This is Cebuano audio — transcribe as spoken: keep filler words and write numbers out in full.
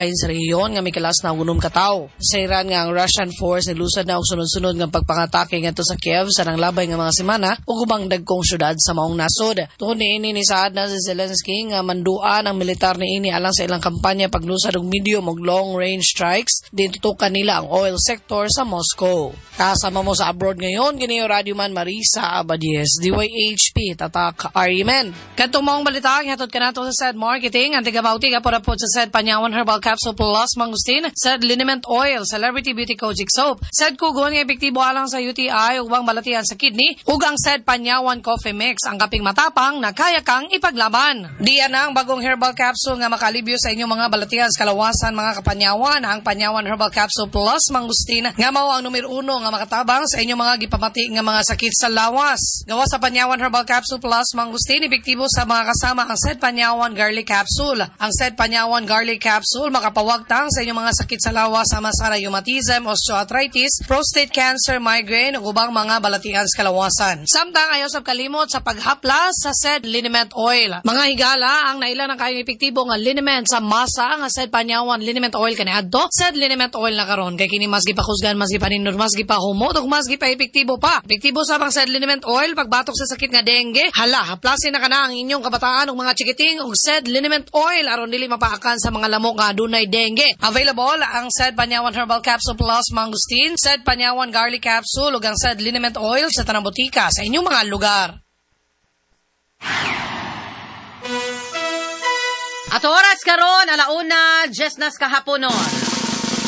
Sa rehiyon nga mikalas na unom ka tawo. Sa Iran nga ang Russian force nilusad na og sunod-sunod nga pagpangatake ngadto sa Kiev sa nanglabay nga mga semana ug ubang dagkong syudad sa maong nasod. Tungod niini, nisaad na si Zelensky nga manduan ang militar niini alang sa ilang kampanya paglusad og medium ug long range strikes diin tutukan nila ang oil sector sa Moscow. Kasama mo sa abroad ngayon, kini Radyoman Marisa Abadies, D Y H P, Tatak Arimen. Kadtong maong balita, hatod kanato sa SED Marketing, ang tiga-bauti ka po sa SED Panyawan Herbal Capsule Plus Mangustin, SED Liniment Oil, Celebrity Beauty Kojic Soap, SED Kugon nga epektibo alang sa U T I ug ubang balatian sa kidney, ug ang SED Panyawan Coffee Mix, ang kaping matapang na kaya kang ipaglaban. Diya na ang bagong herbal capsule nga makalibyo sa inyong mga balatian sa kalawasan, mga kapanyawan, ang Panyawan Herbal Capsule Plus Mangustin nga mao ang numero uno nga makatabang sa inyong mga gipamati nga mga sakit sa lawas. Gawa sa Panyawan Herbal Capsule Plus Mangustin, epektibo sa mga kasama ang SED Panyawan Garlic Capsule. Ang SED Panyawan Garlic Capsule makapawagtang sa inyong mga sakit sa lawas sama sa rheumatism, osteoarthritis, prostate cancer, migraine ug ubang mga balatian sa kalawasan. Samtang ayaw sab kalimot sa paghaplas sa SED Liniment Oil. Mga higala, ang naila ng kayong epektibo nga liniment sa masa nga SED Panyawan Liniment Oil kaniadto, SED Liniment Oil na karon kay kini mas gipakusgan, mas gipanindot, mas gipahumot ug mas gipaepektibo pa. Epektibo sa pang SED Liniment Oil pagbatok sa sakit nga dengue. Hala, haplasin na kana ang inyong kabataan ug mga chikiting og SED Liniment Oil aron dili mapaakan sa mga lamok nga adunay dengue. Available ang SED Panyawan Herbal Capsule Plus Mangustin, SED Panyawan Garlic Capsule ug ang SED Liniment Oil sa tanang botika sa inyong mga lugar. At oras karon, alauna, diyes nas kahaponon.